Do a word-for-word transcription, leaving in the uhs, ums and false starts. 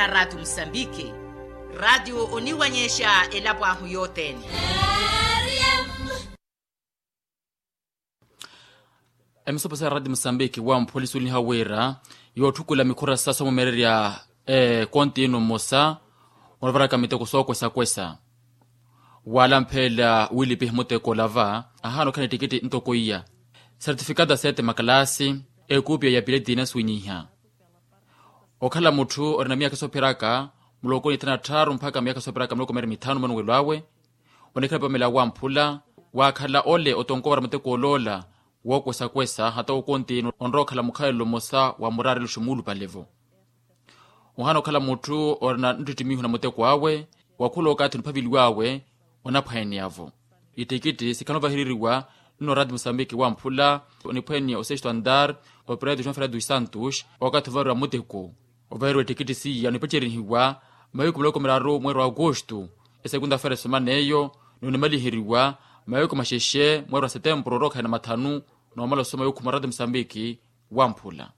Raatio musambiki. Raatio oniwanyexa elapo ahu yothene. Emisopo sa raatio musambiki wamphuwa lisuweliha wira yootthukulela mikhura sa soomumererya ekonti ino mmosa onavaraka miteko sookwesa-kwesa. Waalamphelela wiilipiha muteko olava ahaana okhala ni ettikiti ntoko iya, sertifikata seete makalaasi, ekupiya ya pileti inasuwinyiha. Okhala mutthu orina miyakha soopheraka muloko ni thanu na tthaaru mpakha miyakha soopheraka muloko meeri mithanu mwanuwelo awe, onikhala pamela wamphula. Waakhala ole otonko wara muteko oloola wookwesa-kwesa hata okontini onrowa okhala mukhalelo mmosa wa muraarelo xumuulupale-vo. Ohaana okhala mutthu orina nttittimiho na muteko awe wa khula okathi oniphaveliw'awe onaphwaaneya-vo. Ittikitti sikhala ovahereriwa nno raati musambiki wamphula oniphwaaneya osesto andar opireti joão fernando dos santos okathi ovaheriwa muteko. Ovaheriwa ittikitti siya onipacerinihiwa mahiku miloko miraru mweeri wa agosto, esekunda fera esoman'eyo ni onimaliheriwa mahiku maxexe mweeri wa setempuru orookhaya na mathanu. Noomala osoma yookhuma raati musambiki wamphula.